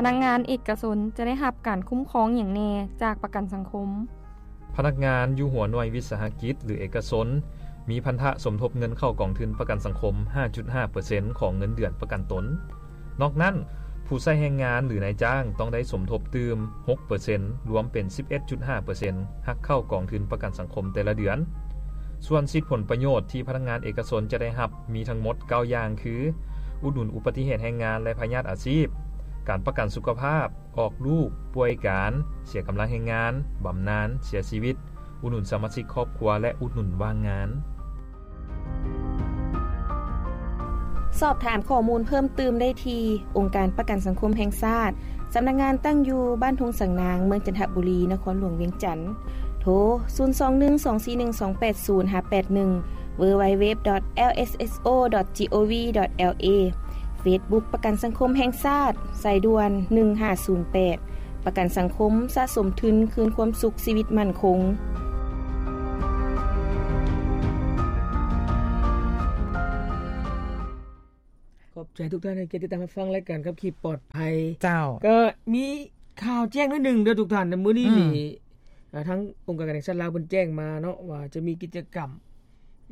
ພະນັກງານເອກະຊົນຈະໄດ້ຮັບການຄຸ້ມຄອງຫຍັງແດ່ຈາກປະກັນສັງຄົມ? ພະນັກງານຢູ່ຫົວໜ່ວຍວິສາຫະກິດ ຫຼື ເອກະຊົນ ມີພັນທະສົມທົບເງິນເຂົ້າກອງທຶນປະກັນສັງຄົມ ຫ້າຈຸດຫ້າເປີເຊັນ ຂອງເງິນເດືອນປະກັນຕົນ. ນອກນັ້ນ, ຜູ້ໃຊ້ແຮງງານ ຫຼື ນາຍຈ້າງ ຕ້ອງໄດ້ສົມທົບຕື່ມ ຫົກເປີເຊັນ ລວມເປັນ ສິບເອັດຈຸດຫ້າເປີເຊັນ ຫັກເຂົ້າກອງທຶນປະກັນສັງຄົມແຕ່ລະເດືອນ. ສ່ວນສິດຜົນປະໂຫຍດທີ່ພະນັກງານເອກະຊົນຈະໄດ້ຮັບ ມີທັງໝົດເກົ້າຢ່າງ ຄື ອຸດໜູນອຸບັດຕິເຫດແຮງງານ ແລະ ພະຍາດອາຊີບ, ການປະກັນສຸຂະພາບ, ອອກລູກ, ປ່ວຍການ, ເສຍກຳລັງແຮງງານ, ບຳນານ, ເສຍຊີວິດ, ອຸດໜູນສະມາຊິກຄອບຄົວ ແລະ ອຸດໜູນວ່າງງານ. ສອບຖາມຂໍ້ມູນເພີ່ມຕື່ມໄດ້ທີ່ ອົງການປະກັນສັງຄົມແຫ່ງຊາດ, ສຳນັກງານຕັ້ງຢູ່ບ້ານທົ່ງສັງນາງ, ເມືອງຈັນທະບູລີ, ນະຄອນຫຼວງວຽງຈັນ. ໂທ ສູນສອງໜຶ່ງສອງສີ່ໜຶ່ງສອງແປດສູນ ຫາ ແປດໜຶ່ງ www.lsso.gov.la. Facebook ປະກັນສັງຄົມແຫ່ງຊາດ, ສາຍດ່ວນ ໜຶ່ງຫ້າສູນແປດ. ປະກັນສັງຄົມສະສົມທຶນຄືນຄວາມສຸກຊີວິດໝັ້ນຄົງ. ຂອບໃຈທຸກທ່ານໃຫ້ກຽດຕິດຕາມຮັບຟັງລາຍການຂັບຂີ່ປອດໄພ. ເຈົ້າ. ກໍມີຂ່າວແຈ້ງໜ້ອຍໜຶ່ງເດີທຸກທ່ານ. ມື້ນີ້ນີ້ ອືມ ເອີ ທາງອົງການການແຫ່ງຊາດລາວເພິ່ນແຈ້ງມາເນາະ ວ່າຈະມີກິດຈະກຳ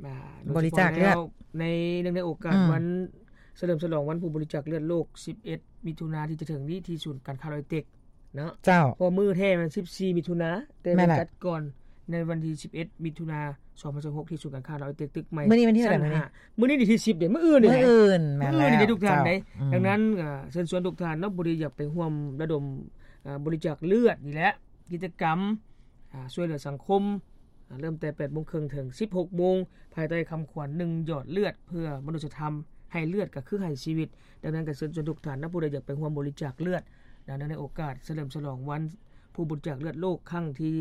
ອ່າ ບໍລິຈາກເລືອດ ໂດຍສະເພາະແລ້ວໃນ ເນື່ອງໃນໂອກາດ ອືມ ວັນສະເຫຼີມສະຫຼອງວັນຜູ້ບໍລິຈາກເລືອດໂລກ ສິບເອັດ ມິຖຸນາທີ່ຈະເຖິງນີ້ ທີ່ສູນການຄ້າລາວໄອເຕັກເນາະ. ເຈົ້າ. ເພາະມື້ແທ້ມັນສິບສີ່ມິຖຸນາ ແຕ່ ແມ່ນແຫຼະ ຈັດກ່ອນໃນວັນທີສິບເອັດ ມິຖຸນາ ສອງພັນຊາວຫົກ ທີ່ສູນການຄ້າລາວໄອເຕັກ ຕຶກໃໝ່ ມື້ນີ້ວັນທີເທົ່າໃດ? ຊັ້ນຫ້າ. ມື້ນີ້ວັນທີສິບເດ້ ມື້ອື່ນນີ້ ມື້ອື່ນ ແມ່ນແລ້ວ ມື້ອື່ນນີ້ເດ້ທຸກທ່ານເດ້. ເຈົ້າ. ອືມ. ດັ່ງນັ້ນ ເອີ ເຊີນຊວນທຸກທ່ານເນາະ ຜູ້ທີ່ຢາກໄປຮ່ວມລະດົມ ເອີ ບໍລິຈາກເລືອດນີ້ແຫຼະ ກິດຈະກຳ ອ່າ ຊ່ວຍເຫຼືອສັງຄົມ ອ່າ ເລີ່ມແຕ່ແປດໂມງເຄິ່ງເຖິງສິບຫົກໂມງ ພາຍໃຕ້ຄຳຂວັນ ໜຶ່ງ ຢອດເລືອດເພື່ອມະນຸດສະທຳ ໃຫ້ເລືອດກໍຄືໃຫ້ຊີວິດ. ດັ່ງນັ້ນກໍເຊີນຊວນທຸກທ່ານນະ ຜູ້ໃດຢາກໄປຮ່ວມບໍລິຈາກເລືອດ ໃນ ໃນໂອກາດສະເຫຼີມສະຫຼອງວັນຜູ້ບໍລິຈາກເລືອດໂລກຄັ້ງທີ່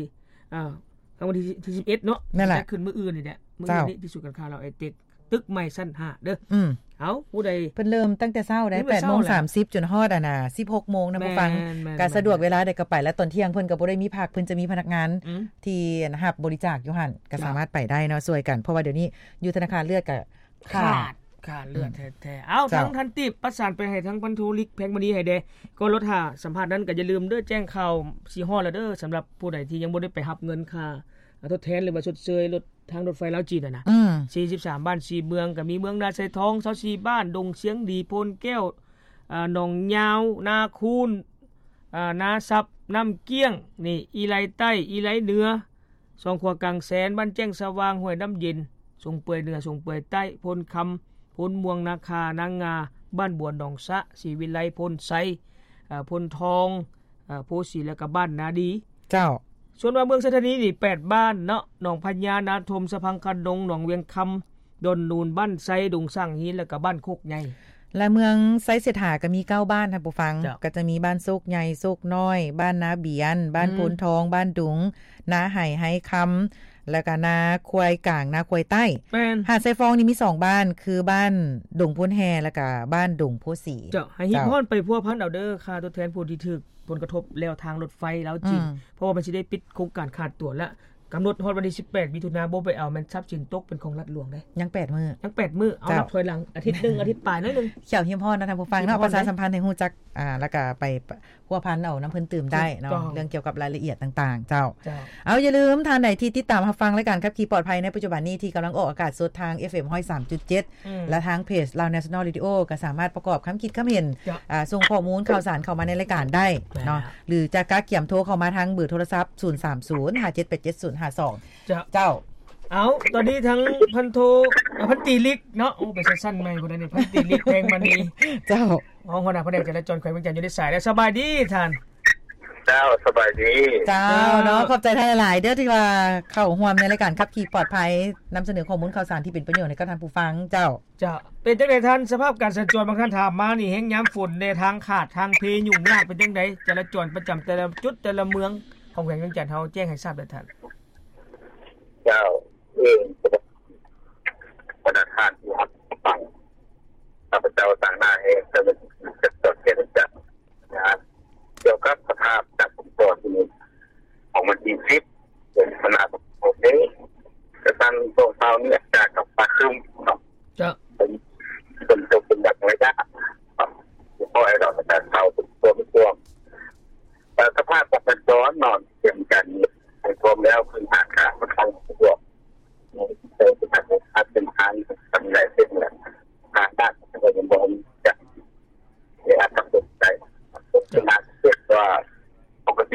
ອ່າ ຄັ້ງວັນທີ ທີສິບເອັດເນາະ ນັ້ນແຫຼະ ຈັດຂຶ້ນມື້ອື່ນນີ້ແຫຼະ ມື້ອື່ນນີ້ ເຈົ້າ ທີ່ສູນການຄ້າລາວໄອເຕັກ ຕຶກໃໝ່ຊັ້ນຫ້າເດີ. ອືມ. ເອົ້າ ຜູ້ໃດ ເພິ່ນເລີ່ມຕັ້ງແຕ່ເຊົ້າໄດ໋ ແປດໂມງສາມສິບ ຈົນຮອດ ອັນນ່າ ສິບຫົກໂມງນະ ແມ່ນ ຜູ້ຟັງ ແມ່ນ ກະສະດວກເວລາໃດກໍໄປ ແລ້ວຕອນທ່ຽງເພິ່ນກໍບໍ່ໄດ້ມີພັກ ເພິ່ນຈະມີພະນັກງານ ອືມ ທີ່ຮັບບໍລິຈາກຢູ່ຫັ້ນ ກໍ ເຈົ້າ ສາມາດໄປໄດ້ເນາະ ຊ່ວຍກັນ ເພາະວ່າດຽວນີ້ຢູ່ທະນາຄານເລືອດກໍຂາດ ຂາດ ຂາດເລືອດ ອືມ ແທ້ໆ. ເອົ້າ ເຈົ້າ ທາງທ່ານຕິບ ປະສານໄປໃຫ້ທາງພັນໂທລິກ ແພງມະນີ ໃຫ້ແດ່ ກ່ອນລົດຖ້າສຳພາດນັ້ນ ກໍຢ່າລືມເດີ ແຈ້ງຂ່າວຊິຮອດແລ້ວເດີ ສຳລັບຜູ້ໃດທີ່ຍັງບໍ່ໄດ້ໄປຮັບເງິນຄ່າ ອ່າ ທົດແທນ ຫຼືວ່າຊົດເຊີຍລົດ ທາງລົດໄຟລາວຈີນຫັ້ນນະ ອືມ ສີ່ສິບສາມບ້ານ ສີ່ເມືອງ ກໍມີເມືອງນາຊາຍທອງ ຊາວສີ່ບ້ານ ດົງຊຽງດີ ໂພນແກ້ວ ອ່າ ໜອງຍາວ ນາຄູນ ອ່າ ນາຊັບ ນ້ຳກ້ຽງ ນີ້ ອີໄລໃຕ້ ອີໄລເໜືອ ສອງຂົວກາງແສນ ບ້ານແຈ້ງສະຫວ່າງ ຫ້ວຍນ້ຳເຢັນ ສົງເປືອຍເໜືອ ສົງເປືອຍໃຕ້ ໂພນຄຳ ໂພນມ່ວງ ນາຄາ ນາງາ ບ້ານບົວ ໜອງສະ ສີວິໄລ ໂພນໄຊ ອ່າ ໂພນທອງ ອ່າ ໂພສີ ແລ້ວກໍບ້ານນາດີ. ເຈົ້າ. ສ່ວນວ່າເມືອງໄຊທານີນີ້ ແປດບ້ານເນາະ ໜອງພະຍາ ນາທົມ ສະພັງຄະດົງ ໜອງວຽງຄຳ ດອນນູນ ບ້ານໄຊ ດົງສ້າງຫີນ ແລ້ວກໍບ້ານໂຄກໃຫຍ່ ແລະ ເມືອງໄຊເສດຖາກໍມີເກົ້າບ້ານ ທ່ານຜູ້ຟັງ ເຈົ້າ ກໍຈະມີບ້ານໂຊກໃຫຍ່ ໂຊກນ້ອຍ ບ້ານນາບຽນ ບ້ານ ອືມ ໂພນທອງ ບ້ານດຸງ ນາໄຫ ໄຮຄຳ ແລ້ວກໍນາຄວາຍກາງ ນາຄວາຍໃຕ້. ແມ່ນ. ຫາດຊາຍຟອງນີ້ມີສອງບ້ານ ຄືບ້ານດົງໂພນແຮ່ ແລ້ວກໍບ້ານດົງໂພສີ. ເຈົ້າ ໃຫ້ຮີບຮ້ອນໄປພົວພັນເອົາເດີ ຂ້າຕົວແທນຜູ້ທີ່ຖືກຜົນກະທົບແລ້ວທາງລົດໄຟລາວຈີນ ອືມ ເພາະວ່າມັນຊິໄດ້ປິດໂຄງການຂາດຕົວແລ້ວ ກຳນົດຮອດວັນທີສິບແປດ ມິຖຸນາ ບໍ່ໄປເອົາແມ່ນຊັບສິນຕົກເປັນຂອງລັດຫຼວງເດ້. ຍັງແປດມື້ ຍັງແປດມື້ ເອົາ ເຈົ້າ ນັບຖອຍຫຼັງອາທິດໜຶ່ງ ອາທິດປາຍໜ້ອຍໜຶ່ງ. ເຈົ້າ ຮີບຮ້ອນນະ ທ່ານຜູ້ຟັງເນາະ ຮີບຮ້ອນເດ້ ປະຊາສຳພັນໃຫ້ຮູ້ຈັກ ອ່າ ແລ້ວກໍໄປ ພົວພັນເອົານຳເພິ່ນຕື່ມໄດ້ເນາະ ຖືກຕ້ອງ ເລື່ອງກ່ຽວກັບລາຍລະອຽດຕ່າງໆ. ເຈົ້າ ເຈົ້າ ເອົາ ຢ່າລືມ ທ່ານໃດທີ່ຕິດຕາມຮັບຟັງລາຍການຂັບຂີ່ປອດໄພໃນປັດຈຸບັນນີ້ ທີ່ກຳລັງອອກອາກາດສົດທາງ ເອັຟເອັມ ຮ້ອຍສາມຈຸດເຈັດ ອືມ ແລະ ທາງເພຈ Lao National Radio ກໍສາມາດປະກອບຄຳຄິດຄຳເຫັນ ເຈົ້າ ອ່າ ສົ່ງຂໍ້ມູນຂ່າວສານເຂົ້າມາໃນລາຍການໄດ້ເນາະ ແມ່ນ ຫຼືຈະກະກຽມໂທເຂົ້າມາທາງເບີໂທລະສັບ ສູນສາມສູນ ຫ້າເຈັດແປດເຈັດ ສູນຫ້າສອງ. ເຈົ້າ ເຈົ້າ ເອົາ ຕອນນີ້ທາງພັນໂທ ເອີ ພັນຕີລິກເນາະ ໂອ້ ໄປຊັ້ນໆໃໝ່ພຸ້ນນະນີ້ ພັນຕີລິກ ແພງມະນີ. ເຈົ້າ ຮອງຫົວໜ້າພະແນກຈະລາຈອນແຂວງວຽງຈັນ ຢູ່ໃນສາຍແລ້ວ ສະບາຍດີທ່ານ. ເຈົ້າ ສະບາຍດີ. ເຈົ້າ ເຈົ້າ ເນາະ ຂອບໃຈທ່ານຫຼາຍໆເດີ ທີ່ວ່າເຂົ້າຮ່ວມໃນລາຍການຂັບຂີ່ປອດໄພ ນຳສະເໜີຂໍ້ມູນຂ່າວສານທີ່ເປັນປະໂຫຍດໃຫ້ກັບທ່ານຜູ້ຟັງ. ເຈົ້າ ເຈົ້າ ເປັນຈັ່ງໃດທ່ານ ສະພາບການສັນຈອນ ບາງທ່ານຖາມມານີ້ ແຮງຍາມຝົນແດ່ ທາງຂາດ ທາງເພ ຫຍຸ້ງຍາກ ເປັນຈັ່ງໃດ ຈະລາຈອນປະຈຳແຕ່ລະຈຸດ ແຕ່ລະເມືອງຂອງແຂວງວຽງຈັນເຮົາ ແຈ້ງໃຫ້ຊາບແດ່ທ່ານ. ເຈົ້າ ເອີ ບັນດາທ່ານທີ່ຮັບຟັງ ຂ້າພະເຈົ້າຕາງໜ້າແຫ່ງເຈົ້າໜ້າທີ່ຈັດຈອດແກ້ໄຂບັນຫາ ກ່ຽວກັບສະພາບການຝົນຕົກຂອງວັນທີສິບ ເດືອນມະກະລາ ສອງພັນຊາວຫົກນີ້ ກະສັນຊ່ວງເຊົ້ານີ້ອາກາດກໍຟ້າຄຶ້ມເນາະ. ເຈົ້າ ເປັນ ເປັນຕົກເປັນບາງໄລຍະເນາະ ບໍ່ຄ່ອຍດອກ ແຕ່ເຊົ້າເປັນຊ່ວງ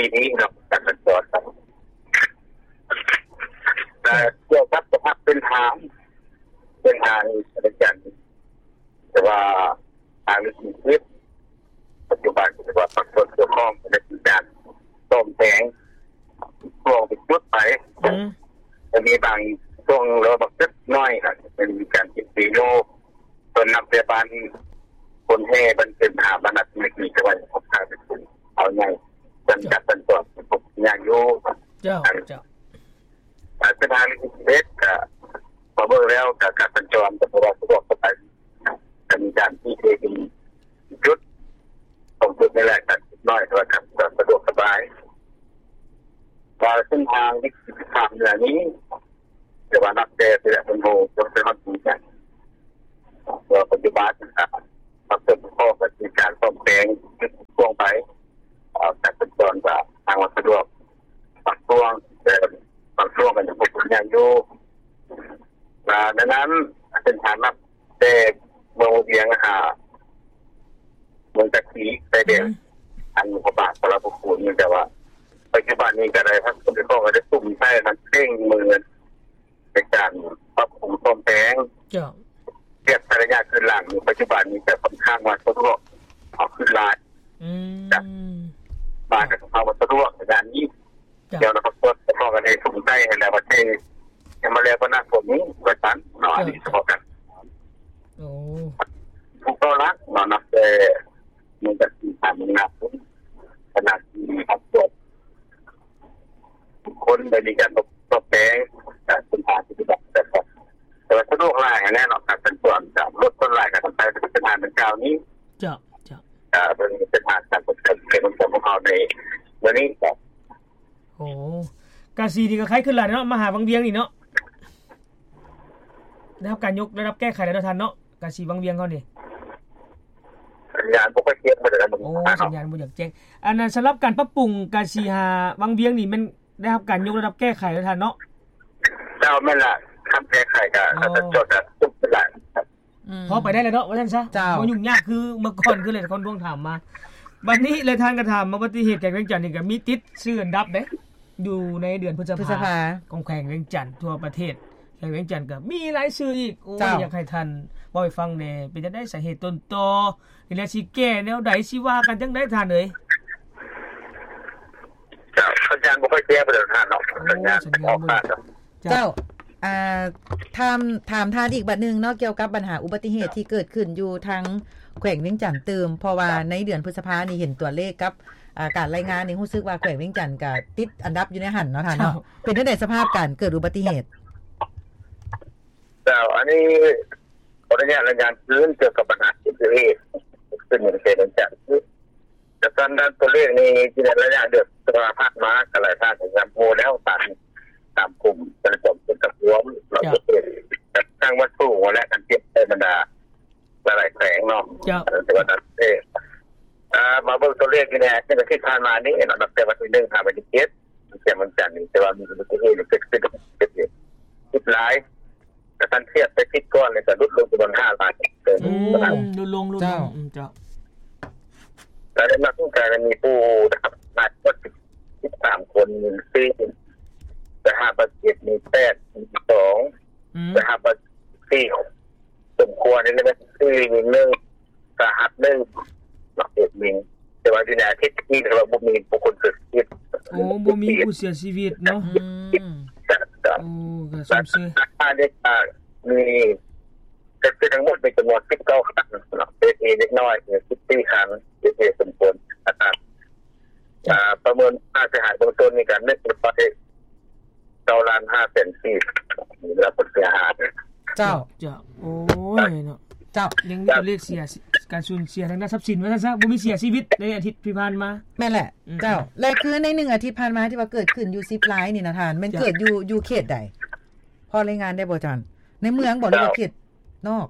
ທີ່ນີ້ເນາະ ການສັນຈອນ ແລະ ກ່ຽວກັບສະພາບພື້ນຖານ ເສັ້ນທາງເວງຈັນ ແຕ່ວ່າທາງເລກສິບ ປັດຈຸບັນ ຖືວ່າພາກສ່ວນກ່ຽວຂ້ອງໄດ້ມີການສ້ອມແປງຊ່ວງເປັນຈຸດໄປ ອືມ ແລະ ມີບາງຊ່ວງ ຫຼືວ່າບາງຈຸດນ້ອຍ ອາດຈະເປັນມີການຕິດຕີຢູ່ ສ່ວນນັບແຕ່ບ້ານຄົນແຫ່ ບ້ານເປັນຫາ ບ້ານນັດມີ ມີແຕ່ວ່າເປັນເອົາໃຫຍ່ ສັນຈະສັນຈອນ ຍາກຢູ່ ເຈົ້າ ເຈົ້າ ອາ ເສັ້ນທາງເລກສິບເອັດ ກະ ມາເບິ່ງແລ້ວ ກະ ການສັນຈອນ ກະບໍ່ວ່າສະດວກສະບາຍ ກະມີການທີ່ເປັນຈຸດ ສອງຈຸດນີ້ແຫຼະ ກະໜ້ອຍ ແຕ່ວ່າກະສະດວກສະບາຍ ວ່າເສັ້ນທາງເລກສິບສາມເໜືອນີ້ ແຕ່ວ່ານັບແຕ່ເທື່ອເພິ່ນໂຮ ຈົນໄປຮອດປີການ ວ່າປັດຈຸບັນ ອາ ປັບປຸງຂໍ້ກໍມີການສ້ອມແປງຊ່ວງໄປ ອາ ການສັນຈອນກໍທາງວ່າສະດວກບາງຊ່ວງ ແຕ່ບາງຊ່ວງກໍຍັງຄົງຍາກຢູ່ ອາ ດັ່ງນັ້ນ ເສັ້ນທາງນັບແຕ່ເມືອງວຽງຫາ ເມືອງຕາຄີ ຊາຍແດນ ອືມ ອັນພະບາດສາລະພະພູມ ແຕ່ວ່າປັດຈຸບັນນີ້ກໍໄດ້ ພາກສ່ວນກ່ຽວຂ້ອງກໍໄດ້ສຸມໃສ່ ມັນເລັ່ງມື ໃນການປັບປຸງສ້ອມແປງ ເຈົ້າ ທຽບໃສ່ໄລຍະຄືນຫຼັງ ປັດຈຸບັນນີ້ກໍຂ້ອນຂ້າງວ່າສະດວກ ເອົາຂຶ້ນຫຼາຍ ອືມ ຈາກ ບ້ານກໍເຂົ້າມາສະດວກໃນດ້ານນີ້ ເຈົ້າ ດຽວນະຄອນຫຼວງກໍຕ້ອງໄດ້ສຸມໃສ່ຫັ້ນແຫຼະ ວ່າຊິ ຍັງມາແລ້ວກໍໜັກກວ່ານີ້ວ່າຊັ້ນເນາະ ເຈົ້າ ອັນນີ້ສະເພາະກັນ ໂອ້ ຜູ້ເຂົ້າຫຼັກເນາະ ນັບແຕ່ ມັນກໍຊິຜ່ານໜັກ ຂະໜາດທີ່ຮັບຕົວ ທຸກຄົນໄດ້ມີການປອບແປງ ການເປັນທາງປະຕິບັດ ແຕ່ວ່າສະດວກຫຼາຍຫັ້ນແຫຼະເນາະ ການສັນຈອນຈາກລົດສ່ວນຫຼາຍການນຳໃຊ້ເສັ້ນທາງດັ່ງກ່າວນີ້ ເຈົ້າ ເຈົ້າ ເອີ ເປັນເສັ້ນທາງການສັນຈອນຂອງພວກເຮົາໃນມື້ນີ້ ໂອ້ ກາສີນີ້ກໍໄຄຂຶ້ນຫຼາຍເນາະ ມາຫາວັງວຽງນີ້ເນາະ ໄດ້ຮັບການຍົກລະດັບແກ້ໄຂແລ້ວເນາະທ່ານເນາະ ກາສີວັງວຽງເຮົານີ້ ສັນຍານບໍ່ຄ່ອຍແຈ້ງປານໃດ ໂອ້ ສັນຍານບໍ່ຢາກແຈ້ງ ອັນນັ້ນ ສຳລັບການປັບປຸງກາສີຫາວັງວຽງນີ້ ແມ່ນໄດ້ຮັບການຍົກລະດັບແກ້ໄຂແລ້ວທ່ານເນາະ ເຈົ້າ ແມ່ນລະ ຄັນແກ້ໄຂກໍ ອໍ ຈອດກໍສຸກຫຼາຍ ອືມ ພໍໄປໄດ້ແລ້ວເນາະ ວ່າຊັ້ນຊະ ເຈົ້າ ບໍ່ຫຍຸ້ງຍາກຄືເມື່ອກ່ອນ ຄືຫຼາຍຄົນທວງຖາມມາ ບັດນີ້ຫຼາຍທ່ານກໍຖາມມາ ອຸບັດຕິເຫດແຂວງວຽງຈັນນີ້ກໍມີຕິດຊື່ອັນດັບເດ້ ຢູ່ໃນເດືອນພຶດສະພາ ພຶດສະພາ ຂອງແຂວງວຽງຈັນທົ່ວປະເທດ ແຂວງວຽງຈັນກໍມີລາຍຊື່ອີກ ໂອ້ຍ ເຈົ້າ ຢາກໃຫ້ທ່ານເວົ້າໃຫ້ຟັງແດ່ ເປັນຈັ່ງໃດສາເຫດຕົ້ນຕໍ ນີ້ແຫຼະ ຊິແກ້ແນວໃດ ຊິວ່າກັນຈັ່ງໃດທ່ານເອີຍ? ເຈົ້າ ສັນຍານບໍ່ຄ່ອຍແຈ້ງປານໃດທ່ານເນາະ ໂອ້ ສັນຍານ ສັນຍານບໍ່ ເຈົ້າ ເຈົ້າ ອ່າ ຖາມ ຖາມທ່ານອີກບາດໜຶ່ງເນາະ ກ່ຽວກັບບັນຫາອຸບັດຕິເຫດທີ່ເກີດຂຶ້ນຢູ່ທາງແຂວງວຽງຈັນຕື່ມ ເພາະວ່າໃນເດືອນພຶດສະພານີ້ເຫັນຕົວເລກກັບ ອ່າ ການລາຍງານນີ້ ຮູ້ສຶກວ່າແຂວງວຽງຈັນກໍຕິດອັນດັບຢູ່ໃນຫັ້ນເນາະທ່ານເນາະ ເຈົ້າ ເປັນຈັ່ງໃດສະພາບການເກີດອຸບັດຕິເຫດ? ເຈົ້າ ອັນນີ້ຂໍອະນຸຍາດລາຍງານຄືນກ່ຽວກັບບັນຫາອຸບັດຕິເຫດ ເກີດຂຶ້ນໃນແຂວງວຽງຈັນ ຈາກການຕົວເລກນີ້ ໃນໄລຍະເດືອນພະຈິກາຜ່ານມາ ກໍຫຼາຍທ່ານກໍຍາມຮູ້ແລ້ວ ຕາມ ຕາມກຸ່ມການຈອມເປັນກະຊວງ ເຈົ້າ ເນາະ ທາງວັດສູງ ແລະ ການທຽບໃສ່ບັນດາຫຼາຍໆແຂວງເນາະ ເຈົ້າ ແຕ່ວ່ານັ້ນເອງ ອ່າ ມາເບິ່ງຕົວເລກນີ້ແດ່ ໃນອາທິດຜ່ານມານີ້ເນາະ ນັບແຕ່ວັນທີໜຶ່ງຫາວັນທີເຈັດ ແຂວງວຽງຈັນນີ້ ແຕ່ວ່າມີອຸບັດຕິເຫດເກີດຂຶ້ນ ເກີດເຫດຫຼາຍ ກະຄັນທຽບໃສ່ທິດກ່ອນ ແລ້ວກະຫຼຸດລົງຈຳນວນຫ້າຫຼາຍເຕີບ ອືມ ຫຼຸດລົງ ຫຼຸດລົງ ເຈົ້າ ອືມ ເຈົ້າ ແລ້ວໃນນັ້ນກໍມີຜູ້ໄດ້ຮັບບາດເຈັບສິບສາມຄົນ ມີສີ່ ໄດ້ຮັບບາດເຈັບມີແປດ ມີສອງ ອືມ ໄດ້ຮັບບາດເຈັບສີ່ຄົນ ສົມຄວນນີ້ແມ່ນສີ່ ໜຶ່ງ ສາຫັດໜຶ່ງ ບາດເຈັບໜຶ່ງ ແຕ່ວ່າຢູ່ໃນອາທິດນີ້ ຖືວ່າບໍ່ມີບຸກຄົນເສຍຊີວິດ ໂອ້ ບໍ່ມີຜູ້ເສຍຊີວິດເນາະ ອືມ ເຈົ້າ ເຈົ້າ ໂອ້ ກໍຊົມເຊີຍ ອັນນີ້ກໍມີ ກໍຄືທັງໝົດມີຈຳນວນສິບເກົ້າຄັນເນາະ ເສຍຊີວິດເລັກນ້ອຍສິບສີ່ຄັນ ເສຍຊີວິດສົມຄວນ ອາການ ອ່າ ປະເມີນຄ່າເສຍຫາຍເບື້ອງຕົ້ນນີ້ກໍໜຶ່ງຮ້ອຍເກົ້າລ້ານຫ້າແສນກີບ ມີແລ້ວຜົນເສຍຫາຍ ເຈົ້າ ເຈົ້າ ໂອ້ຍເນາະ ເຈົ້າ ຍັງມີຕົວເລກເສຍ ການສູນເສຍທາງດ້ານຊັບສິນວ່າຊັ້ນຊະ ບໍ່ມີເສຍຊີວິດໃນອາທິດທີ່ຜ່ານມາ ແມ່ນແຫຼະ ອືມ ເຈົ້າ ແລະ ຄືໃນໜຶ່ງອາທິດຜ່ານມາທີ່ວ່າເກີດຂຶ້ນຢູ່ສິບລາຍນີ້ນະທ່ານ ແມ່ນ ເຈົ້າ ເກີດຢູ່ ຢູ່ເຂດໃດ? ພໍລາຍງານໄດ້ບໍ່ທ່ານ? ໃນເມືອງບໍ່ ຫຼືວ່າເຂດນອກ?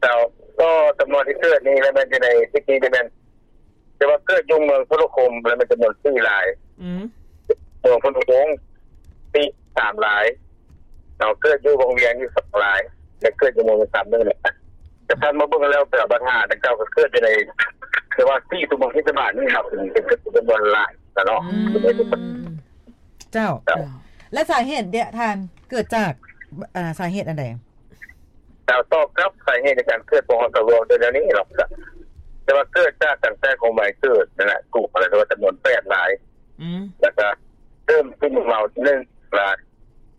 ເຈົ້າ ກໍຈຳນວນທີ່ເກີດນີ້ແມ່ນຢູ່ໃນທິດນີ້ແມ່ນ ແຕ່ວ່າເກີດຢູ່ເມືອງໂທລະຄົມ ແລ້ວມັນຈຳນວນສີ່ລາຍ ອືມ ເມືອງໂພນໂຮງ ສີ່ ສາມລາຍເນາະ ເກີດຢູ່ວັງວຽງນີ້ສອງລາຍ ແລະ ເກີດຢູ່ເມືອງສາມໜຶ່ງແຫຼະ ແຕ່ທ່ານມາເບິ່ງແລ້ວ ແຕ່ບັນຫາດັ່ງກ່າວກໍເກີດຢູ່ໃນ ແຕ່ວ່າສີ່ຕົວເມືອງເທດສະບານນີ້ເນາະ ເປັນ ເປັນຈຳນວນຫຼາຍ ນະເນາະ. ອືມ ເຈົ້າ ເຈົ້າ ແລະສາເຫດເດທ່ານ ເກີດຈາກ ເອີ ສາເຫດອັນໃດ? ເຈົ້າ ຕໍ່ກັບສາເຫດໃນການເກີດພວກເຮົາສະຫຼວງເປັນແນວນີ້ເນາະ ກະ ແຕ່ວ່າເກີດຈາກຕັ້ງແຕ່ຂອງໃໝ່ເກີດນັ້ນແຫຼະ ກະວ່າຈຳນວນແປດລາຍ ອືມ ແລ້ວກະເລີ່ມກິນເມົາໜຶ່ງລາຍ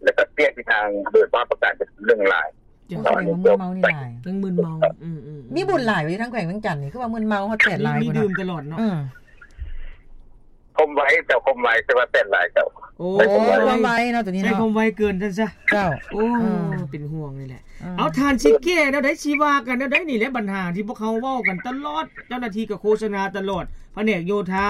ແລ້ວກະປ່ຽນທິດທາງໂດຍພາບປະການເປັນໜຶ່ງລາຍ. ເຈົ້າ ສະແດງວ່າມຶນເມົານີ້ຫຼາຍ ຍັງມຶນເມົາ. ອືມໆໆ ມີບຸນຫຼາຍຢູ່ທາງແຂວງວຽງຈັນນີ້ ຄືວ່າມຶນເມົາຮອດແປດລາຍ ມີດື່ມຕະຫຼອດເນາະ. ອືມ ຄວາມໄວ ເຈົ້າ ຄວາມໄວ ແຕ່ວ່າແປດລາຍ ເຈົ້າ. ໂອ້ ຄວາມໄວເນາະ ໂຕນີ້ເນາະ ໃຊ້ຄວາມໄວເກີນຊັ້ນຊະ. ເຈົ້າ ໂອ້ ເປັນຫ່ວງນີ້ແຫຼະ. ເອີ ເອົາ ທ່ານຊິແກ້ແນວໃດ ຊິວ່າກັນແນວໃດນີ້ແຫຼະ ບັນຫາທີ່ພວກເຮົາເວົ້າກັນຕະຫຼອດ ເຈົ້າໜ້າທີ່ກະໂຄສະນາຕະຫຼອດ ພະແນກໂຍທາ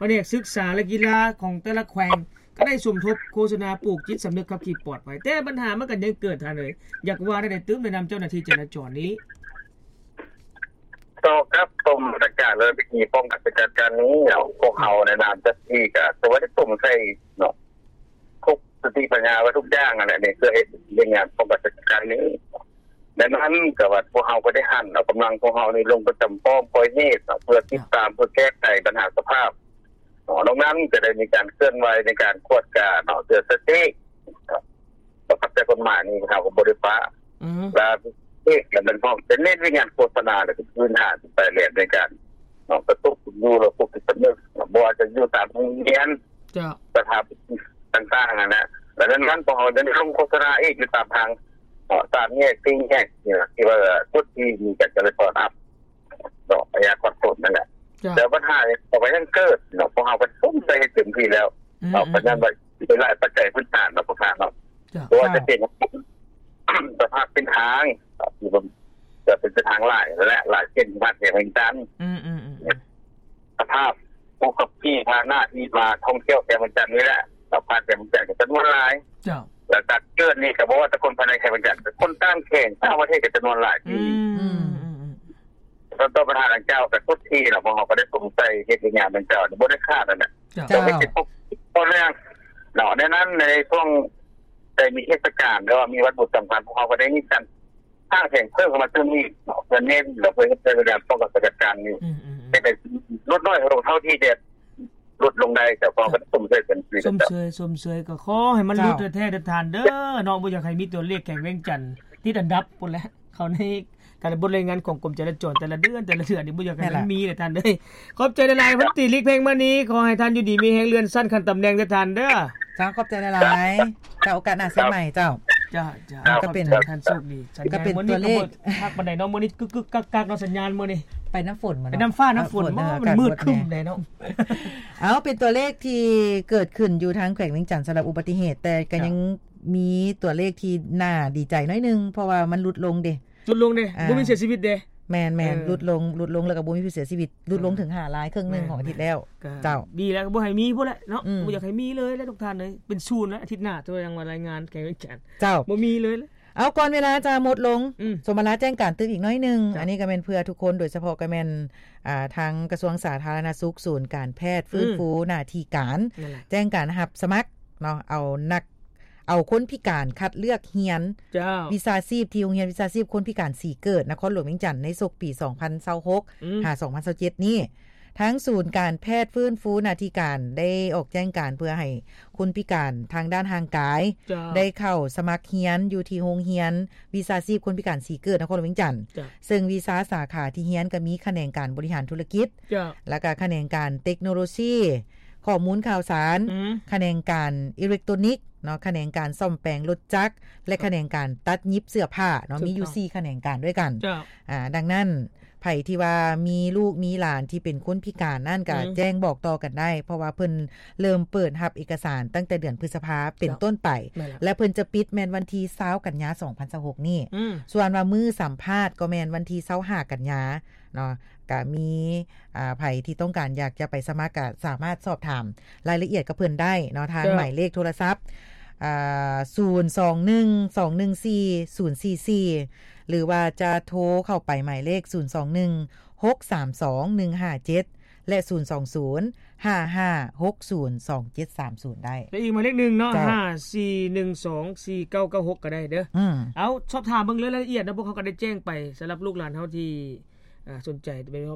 ພະແນກສຶກສາ ແລະ ກິລາຂອງແຕ່ລະແຂວງ ກະໄດ້ສົມທົບໂຄສະນາປູກຈິດສຳນຶກຂັບຂີ່ປອດໄພ ແຕ່ບັນຫາມັນກະຍັງເກີດ. ທ່ານເອີຍ ຢາກວ່າແນວໃດຕື່ມ ໃນນາມເຈົ້າໜ້າທີ່ຈະລາຈອນນີ້? ຕໍ່ກັບກົມມາດຕະການ ແລະ ວິທີປ້ອງກັນສະກັດກັ້ນນີ້ເນາະ ພວກເຮົາໃນນາມເຈົ້າໜ້າທີ່ກະຖືວ່າໄດ້ສຸມໃສ່ເນາະ ທຸກສະຕິປັນຍາໄວ້ທຸກຢ່າງຫັ້ນແຫຼະ ເພື່ອເຮັດວຽກງານປ້ອງກັນສະກັດກັ້ນນີ້. ໃນນັ້ນກະວ່າພວກເຮົາກະໄດ້ຫັນເອົາກຳລັງພວກເຮົານີ້ລົງປະຈຳປ້ອມຄອຍເຫດເນາະ ເພື່ອຕິດຕາມ ເພື່ອແກ້ໄຂບັນຫາສະພາບ ນອກນັ້ນກະໄດ້ມີການເຄື່ອນໄຫວໃນການກວດກາເນາະ ເຕືອນສະຕິ ປະກັບໃຊ້ກົດໝາຍນີ້ເຮົາກະບໍ່ໄດ້ປະ ອືມ ລະເອກລະແມ່ນພ້ອມຈະເນັ້ນວຽກງານໂຄສະນາ ແລະ ເປັນພື້ນຖານທີ່ແປແຫຼມໃນການ ເນາະ ກະຕຸ້ນຢູ່ລະບົບຈິດສຳນຶກ ບໍ່ວ່າຈະຢູ່ຕາມໂຮງຮຽນ ເຈົ້າ ສະຖາບັນຕ່າງໆຫັ້ນນະ ແລະ ນັ້ນພວກເຮົາຍັງໄດ້ລົງໂຄສະນາອີກຢູ່ຕາມທາງ ເນາະ ສາມແຍກ ສີ່ແຍກ ທີ່ວ່າຈຸດທີ່ມີການຈະລາຈອນອັບ ເນາະ ໄລຍະຜ່ອນປົນນັ້ນແຫຼະ. ເຈົ້າ ແຕ່ບັນຫານີ້ກະຍັງເກີດເນາະ ພວກເຮົາກະສົມໃຈເຕັມທີ່ແລ້ວ ອືມ ເນາະ ເພາະນັ້ນວ່າມີຫຼາຍປັດໄຈພື້ນຖານເນາະ ພວກທ່ານເນາະ ເຈົ້າ ບໍ່ວ່າຈະເປັນສະພາບເສັ້ນທາງ ທີ່ເປັນເສັ້ນທາງຫຼາຍ ແລະ ຫຼາຍເສັ້ນທີ່ຜ່ານແຂວງວຽງຈັນ ອືມໆໆ ສະພາບຜູ້ຂັບຂີ່ພາຫະນະທີ່ມາທ່ອງທ່ຽວແຂວງວຽງຈັນນີ້ແຫຼະ ແລ້ວຜ່ານແຂວງວຽງຈັນກະຈຳນວນຫຼາຍ ເຈົ້າ ແລ້ວກະເກີດນີ້ກະບໍ່ວ່າແຕ່ຄົນພາຍໃນແຂວງວຽງຈັນ ຄົນຕ່າງແຂວງ ຕ່າງປະເທດກະຈຳນວນຫຼາຍ ອືມ ຕໍ່ບັນຫາດັ່ງກ່າວກະທຸກທີ່ເນາະ ພວກເຮົາກະໄດ້ສຸມໃສ່ເຮັດວຽກງານດັ່ງກ່າວ ບໍ່ໄດ້ຂາດຫັ້ນແຫຼະ ເຈົ້າ ເຈົ້າ ເຮັດເປັນຕໍ່ເນື່ອງເນາະ. ໃນນັ້ນໃນຊ່ວງໃດມີເທດສະການ ຫຼືວ່າມີວັນບຸນສຳຄັນ ພວກເຮົາກະໄດ້ມີການສ້າງແຜນເພີ່ມເຂົ້າມາຕື່ມອີກເນາະ ເພື່ອເນັ້ນ ແລະ ເພື່ອເຮັດໃຫ້ການປ້ອງກັນສະກັດກັ້ນນີ້ ອືມໆໆ ເຮັດໃຫ້ຫຼຸດນ້ອຍລົງເທົ່າທີ່ຈະຫຼຸດລົງໄດ້ ເຈົ້າ ພວກເຮົາກະສົມເຊີຍກັນ ຊົມເຊີຍ ຊົມເຊີຍ ກະຂໍໃຫ້ມັນຫຼຸດແທ້ໆເດີທ່ານເດີເນາະ ບໍ່ຢາກໃຫ້ມີຕົວເລກແຂວງວຽງຈັນຕິດອັນດັບພຸ້ນແຫຼະ ເຂົ້າໃນ ການບົດລາຍງານຂອງກົມຈະລາຈອນແຕ່ລະເດືອນ ແຕ່ລະເດືອນນີ້ບໍ່ຢາກໃຫ້ມັນມີເລີຍທ່ານເອີຍ. ຂອບໃຈຫຼາຍໆ ພັນຕີ ລິກເພັງມະນີ ຂໍໃຫ້ທ່ານຢູ່ດີມີແຮງ ເລື່ອນຊັ້ນຂັ້ນຕຳແໜ່ງເດີທ່ານເດີ. ເຈົ້າ ຂອບໃຈຫຼາຍໆ ເຈົ້າ ໂອກາດໜ້າເຊີນໃໝ່ເຈົ້າ. ເຈົ້າໆ ກະເປັນ ຂອບໃຈທ່ານ ໂຊກດີ. ກະເປັນຕົວເລກ ຄັກປານໃດເນາະ ມື້ນີ້ກຶກໆກັກໆເນາະ ສັນຍານມື້ນີ້ ໄປນຳຝົນ ໄປນຳຟ້ານຳຝົນ ເອີ ເນາະ ມັນມືດຄຶ້ມໃດເນາະ. ເອົາ ເປັນຕົວເລກທີ່ເກີດຂຶ້ນຢູ່ທາງແຂວງວຽງຈັນ ສຳລັບອຸບັດຕິເຫດ ແຕ່ກະຍັງມີຕົວເລກທີ່ໜ້າດີໃຈໜ້ອຍໜຶ່ງ ເພາະວ່າມັນຫຼຸດລົງເດ ຫຼຸດລົງເດ້ ອ່າ ບໍ່ມີເສຍຊີວິດເດ້. ແມ່ນໆ ເອີ ຫຼຸດລົງ ຫຼຸດລົງ ແລ້ວກະບໍ່ມີຜູ້ເສຍຊີວິດ ຫຼຸດລົງເຖິງຫ້າລາຍ ເຄິ່ງໜຶ່ງຂອງອາທິດແລ້ວ. ເຈົ້າ ດີແລ້ວ ກະບໍ່ໃຫ້ມີພຸ້ນແຫຼະເນາະ ອືມ ບໍ່ຢາກໃຫ້ມີເລີຍແຫຼະທຸກທ່ານເອີຍ. ເປັນສູນແລ້ວ ອາທິດໜ້າ ເຈົ້າ ຍັງວ່າລາຍງານແຂວງວຽງຈັນ ເຈົ້າ ບໍ່ມີເລີຍ. ເອົາ ກ່ອນເວລາຈະໝົດລົງ ອືມ ສົມມາລາແຈ້ງການຕື່ມອີກໜ້ອຍໜຶ່ງ ເຈົ້າ ອັນນີ້ກະແມ່ນເພື່ອທຸກຄົນ ໂດຍສະເພາະກະແມ່ນ ອ່າ ທາງກະຊວງສາທາລະນະສຸກ ສູນການແພດຟື້ນຟູ ອືມ ໜ້າທີ່ການ ແຈ້ງການຮັບສະໝັກເນາະ ເອົານັກ ເອົາຄົນພິການຄັດເລືອກຮຽນ ເຈົ້າ ວິຊາຊີບ ທີ່ໂຮງຮຽນວິຊາຊີບຄົນພິການສີເກີດ ນະຄອນຫຼວງວຽງຈັນ ໃນສົກປີສອງພັນຊາວຫົກ ອືມ ຫາສອງພັນຊາວເຈັດນີ້ ທາງສູນການແພດຟື້ນຟູໜ້າທີ່ການ ໄດ້ອອກແຈ້ງການເພື່ອໃຫ້ຄົນພິການທາງດ້ານຮ່າງກາຍ ເຈົ້າ ໄດ້ເຂົ້າສະໝັກຮຽນຢູ່ທີ່ໂຮງຮຽນວິຊາຊີບຄົນພິການສີເກີດ ນະຄອນຫຼວງວຽງຈັນ ເຈົ້າ ເຊິ່ງວິຊາສາຂາທີ່ຮຽນກະມີຂະແໜງການບໍລິຫານທຸລະກິດ ເຈົ້າ ແລ້ວກະຂະແໜງການເຕັກໂນໂລຊີ ຂໍ້ມູນຂ່າວສານ ອືມ ຂະແໜງການອີເລັກໂຕນິກເນາະ ຂະແໜງການສ້ອມແປງລົດຈັກ ແລະ ຂະແໜງການຕັດຫຍິບເສື້ອຜ້າເນາະ ມີຢູ່ສີ່ຂະແໜງການດ້ວຍກັນ. ເຈົ້າ ອາ ດັ່ງນັ້ນ ໃຜທີ່ວ່າມີລູກມີຫຼານທີ່ເປັນຄົນພິການນັ້ນ ກະ ອືມ ແຈ້ງບອກຕໍ່ກັນໄດ້ ເພາະວ່າເພິ່ນເລີ່ມເປີດຮັບເອກະສານຕັ້ງແຕ່ເດືອນພຶດສະພາເປັນ ເຈົ້າ ຕົ້ນໄປ ແລະ ເພິ່ນຈະປິດແມ່ນວັນທີຊາວກັນຍາ ສອງພັນຊາວຫົກນີ້ ອືມ ສ່ວນວ່າມື້ສຳພາດກະແມ່ນວັນທີຊາວຫ້າກັນຍາເນາະ. ກະມີ ອາ ໃຜທີ່ຕ້ອງການຢາກຈະໄປສະໝັກ ກະສາມາດສອບຖາມລາຍລະອຽດກັບເພິ່ນໄດ້ເນາະ ທາງ ເຈົ້າ ໝາຍເລກໂທລະສັບ ອາ ສູນສອງໜຶ່ງ ສອງໜຶ່ງສີ່ ສູນສີ່ສີ່ ຫຼືວ່າຈະໂທເຂົ້າໄປໝາຍເລກ ສູນສອງໜຶ່ງ ຫົກສາມສອງ ໜຶ່ງຫ້າເຈັດ ແລະ ສູນສອງສູນ ຫ້າຫ້າຫົກສູນ ສອງເຈັດສາມສູນ ໄດ້ ແລະ ອີກໝາຍເລກໜຶ່ງເນາະ ເຈົ້າ ຫ້າສີ່ໜຶ່ງສອງ ສີ່ເກົ້າເກົ້າຫົກ ກະໄດ້ເດີ. ອືມ ເອົາ ສອບຖາມເບິ່ງເລີຍລາຍລະອຽດເນາະ ພວກເຮົາກະໄດ້ແຈ້ງໄປ ສຳລັບລູກຫຼານເຮົາທີ່ ອ່າ ສົນໃຈ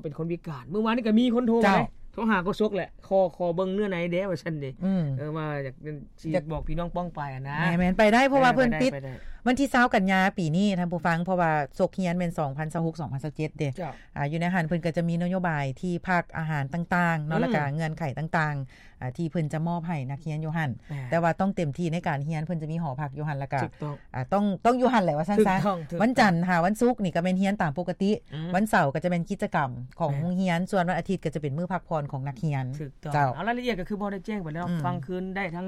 ເປັນຄົນພິການ ມື້ວານນີ້ກະມີຄົນໂທມາ ເຈົ້າ ເດ້ ໂທຫາໂຄສົກແຫຼະ ຂໍ ຂໍເບິ່ງເນື້ອໃນແດ່ວ່າຊັ້ນເດ ອືມ ເອີ ວ່າຢາກ ຢາກ ຊິບອກພີ່ນ້ອງປ້ອງປາຍຫັ້ນນະ ແມ່ນໆ ໄປໄດ້ ເພາະວ່າເພິ່ນປິດ ແມ່ນ ໄປໄດ້ ໄປໄດ້ ວັນທີຊາວກັນຍາປີນີ້ ທ່ານຜູ້ຟັງ ເພາະວ່າສົກຮຽນແມ່ນສອງພັນຊາວຫົກ ສອງພັນຊາວເຈັດເດ້ ເຈົ້າ ອ່າ ຢູ່ໃນຫັ້ນເພິ່ນກໍຈະມີນະໂຍບາຍທີ່ພັກອາຫານຕ່າງໆເນາະ ອືມ ແລ້ວກໍເງື່ອນໄຂຕ່າງໆ ອ່າ ທີ່ເພິ່ນຈະມອບໃຫ້ນັກຮຽນຢູ່ຫັ້ນ ແມ່ນ ແຕ່ວ່າຕ້ອງເຕັມທີ່ໃນການຮຽນ ເພິ່ນຈະມີຫໍພັກຢູ່ຫັ້ນ ແລ້ວກໍ ຖືກຕ້ອງ ອ່າ ຕ້ອງ ຕ້ອງຢູ່ຫັ້ນແຫຼະວ່າຊັ້ນຊະ ຖືກຕ້ອງ ຖືກຕ້ອງ ວັນຈັນຫາວັນສຸກນີ້ກໍແມ່ນຮຽນຕາມປົກກະຕິ ອືມ ວັນເສົາກໍຈະແມ່ນກິດຈະກຳຂອງ ແມ່ນ ໂຮງຮຽນ ສ່ວນວັນອາທິດກໍຈະເປັນມື້ພັກຜ່ອນຂອງນັກຮຽນ ຖືກຕ້ອງ ເຈົ້າ ເອົາ ລາຍລະອຽດກໍຄືບໍ່ໄດ້ແຈ້ງໄປແລ້ວ ອືມ ຟັງຄືນໄດ້ທາງ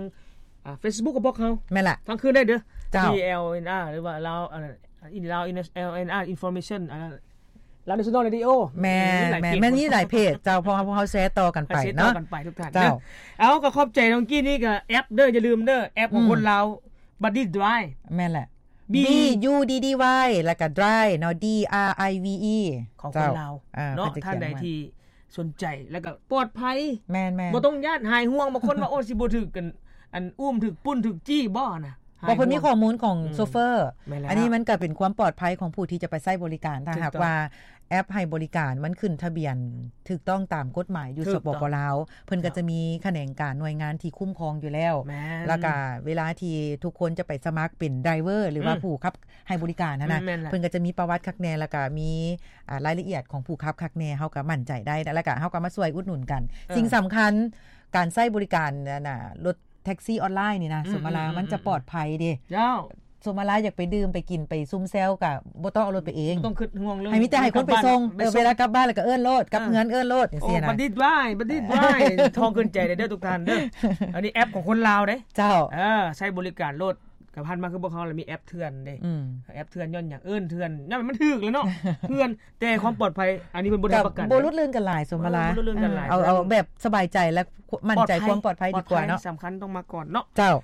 ອ່າ Facebook ຂອງພວກເຮົາ ແມ່ນລະ ຟັງຄືນໄດ້ເດີ ເຈົ້າ ທີ່ ແອລ ເອັນ ອາ ຫຼືວ່າ ລາວ ເອີ ອິນລາວ ເອັນ ແອລ ເອັນ ອາ Information ອ່າ ລາວ National Radio ແມ່ນ ມີຫຼາຍເພຈ ແມ່ນ ມີຫຼາຍເພຈ ເຈົ້າ ເພາະວ່າພວກເຮົາແຊຕໍ່ກັນໄປເນາະ ແຊຕໍ່ກັນໄປທຸກທ່ານເນາະ ເຈົ້າ ເອົາ ກໍຂອບໃຈນ້ອງກີ້ນີ້ ກໍແອັບເດີ ຢ່າລືມເດີ ແອັບຂອງ ອືມ ຄົນລາວ Buddy Drive ແມ່ນແຫຼະ B B U D D Y ແລ້ວກໍ Drive ເນາະ D R I V E ຂອງຄົນລາວ ເຈົ້າ ເນາະ ເພິ່ນຈະຂຽນ ທ່ານໃດທີ່ສົນໃຈ ແລ້ວກໍປອດໄພ ແມ່ນໆ ບໍ່ຕ້ອງຢ້ານ ຫາຍຫ່ວງ ບາງຄົນວ່າ ໂອ້ ຊິບໍ່ຖືກກັນ ອັນ ອຸ້ມ ຖືກປຸ້ນ ຖືກຈີ້ບໍ່ນະ ເພາະເພິ່ນມີຂໍ້ມູນຂອງ ອືມ ໂຊເຟີ ແມ່ນແລ້ວ ອັນນີ້ມັນກໍເປັນຄວາມປອດໄພຂອງຜູ້ທີ່ຈະໄປໃຊ້ບໍລິການ ຖ້າຫາກວ່າແອັບໃຫ້ບໍລິການມັນຂຶ້ນທະບຽນຖືກຕ້ອງຕາມກົດໝາຍຢູ່ ສປປ ລາວ ເພິ່ນກໍຈະມີຂະແໜງການໜ່ວຍງານທີ່ຄຸ້ມຄອງຢູ່ແລ້ວ ແມ່ນ ແລ້ວກໍເວລາທີ່ທຸກຄົນຈະໄປສະໝັກເປັນໄດຣເວີ ຫຼືວ່າ ອືມ ຜູ້ຂັບໃຫ້ບໍລິການຫັ້ນນະ ອືມ ແມ່ນແຫຼະ ເພິ່ນກໍຈະມີປະຫວັດຄັກແນ່ ແລ້ວກໍມີ ອ່າ ລາຍລະອຽດຂອງຜູ້ຂັບຄັກແນ່ ເຮົາກໍໝັ້ນໃຈໄດ້ ແລ້ວກໍເຮົາກໍມາຊ່ວຍອຸດໜູນກັນ ເອີ ສິ່ງສຳຄັນ ການໃຊ້ບໍລິການ ອັນນ່າ ລົດແທັກຊີອອນລາຍນີ້ນະ ອືມ ສົມມະລາ ອືມ ມັນຈະປອດໄພເດ້ ເຈົ້າ ສົມມະລາ ຢາກໄປດື່ມໄປກິນໄປຊຸມແຊວກໍບໍ່ຕ້ອງເອົາລົດໄປເອງ ບໍ່ຕ້ອງຄິດຫ່ວງເລື່ອງ ໃຫ້ມີແຕ່ໃຫ້ຄົນໄປສົ່ງ ໄປສົ່ງ ເອີ ເວລາກັບບ້ານແລ້ວກໍເອີ້ນໂລດ ກັບເຮືອນເອີ້ນໂລດ ຈັ່ງຊີ້ນະ ບັນດິດໄວ້ ບັນດິດໄວ້ ໂທຂຶ້ນໃຈໄດ້ເດີທຸກທ່ານເດີ ອັນນີ້ແອັບຂອງຄົນລາວເດ້ ເຈົ້າ ເອີ ໃຊ້ບໍລິການໂລດ ກໍຜ່ານມາຄືພວກເຮົາລະມີແອັບເຖື່ອນເດ້ ອືມ ແອັບເຖື່ອນຍ້ອນຫຍັງ ເອີ້ນເຖື່ອນ ຍ້ອນມັນຖືກແຫຼະເນາະ ເຖື່ອນ ແຕ່ຄວາມປອດໄພ ອັນນີ້ເພິ່ນບໍ່ໄດ້ຮັບປະກັນ ບໍ່ຫຼຸດເລື່ອນກັນຫຼາຍ ສົມມະລາ ເອີ ບໍ່ຫຼຸດເລື່ອນກັນຫຼາຍ ເອີ ເອົາ ເອົາແບບສະບາຍໃຈ ແລະ ໝັ້ນໃຈ ຄວາມປອດໄພດີກວ່າເນາະ ສຳຄັນຕ້ອງມາກ່ອນເນາະ ເຈົ້າ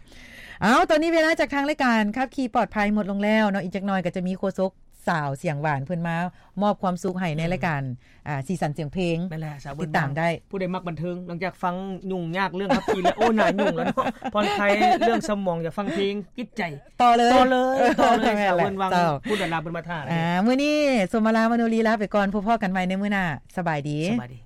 ເອົາ ຕອນນີ້ເວລາຈາກທາງລາຍການຂັບຂີ່ປອດໄພໝົດລົງແລ້ວເນາະ ອີກຈັກໜ່ອຍກໍຈະມີໂຄສົກສາວສຽງຫວານ ເພິ່ນມາ ມອບຄວາມສຸກໃຫ້ໃນ ອືມ ລາຍການ ອ່າ ສີສັນສຽງເພງ ແມ່ນແຫຼະ ສາວເວີນ ຕິດຕາມໄດ້ ຜູ້ໃດມັກບັນເທີງ ຫຼັງຈາກຟັງຫຍຸ້ງຍາກເລື່ອງຂັບຂີ່ແລ້ວ ໂອ້ ໜ້າຫຍຸ້ງແລ້ວເນາະ ຜ່ອນຄາຍເລື່ອງສະໝອງ ຢາກຟັງເພງ ຕິດໃຈ ຕໍ່ເລີຍ ຕໍ່ເລີຍ ຕໍ່ເລີຍ ແມ່ນແຫຼະ ສາວເວີນວັງ ເຈົ້າ ຜູ້ດາລາເພິ່ນມາຖ້າ ອ່າ ມື້ນີ້ສົມມະລາ ມະໂນລີ ລາໄປກ່ອນ ພົບພໍ້ກັນໃໝ່ໃນມື້ໜ້າ ສະບາຍດີ ສະບາຍດີ.